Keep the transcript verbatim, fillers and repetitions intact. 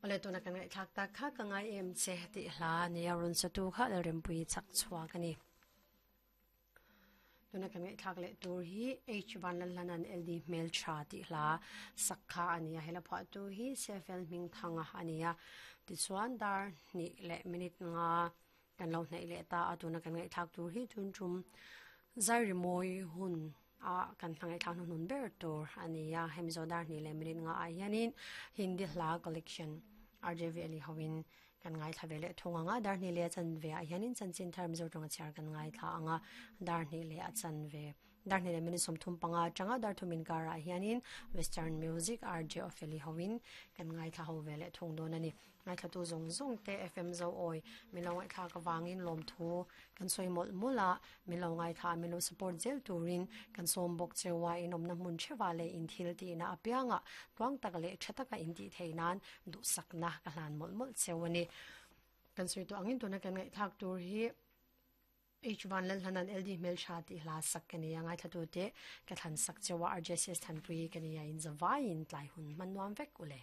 Ole tuna kan ngai thak tak kha ka ngai em che ti hla nia run satu kha rempui chak chuak ani. Tuna kan ngai thak le tur hi H van lan lanan L D mel tha ti hla sakha ania. Hela pha tu hi sefel ming thanga ania. Ti chuan dar ni le minute nga kan lo hnei le ta. Atuna kan ngai thak tur hi tun tum zai moi hun a kan thangai thang nun ber tur ania. Hemizo dar ni le minute nga a hianin Hindi hla collection R J V ali hawin kan ngai thla vele thunga nga. Dar ni le chan ve a hianin chanchin thar Mizo tonga char kan ngai thla anga. Dar ni le a chan ve, dar ni le minute som thum panga changa dar thumin kara hianin western music R J Opheli hawin kan ngai thla ho vele thung don ani. Ngai thla tu zong zong te F M zo oi milo ngai thla ka wangin lom thu kan soi mol mula. Milo ngai tha milo support zel turin kan som bok chewa in omna mun chewa le in thil ti na apianga tuang tak le thataka in ti theinan du sakna ka hlan mol mol chewani. Kan soi to angin tuna kan ngai thak tur hi H one lal hanan L D mel sha ti hla sak kani ngai thatu te ka than sak chewa R J C S thanpui kani ya in zawai in tlai hun manuam vek ule.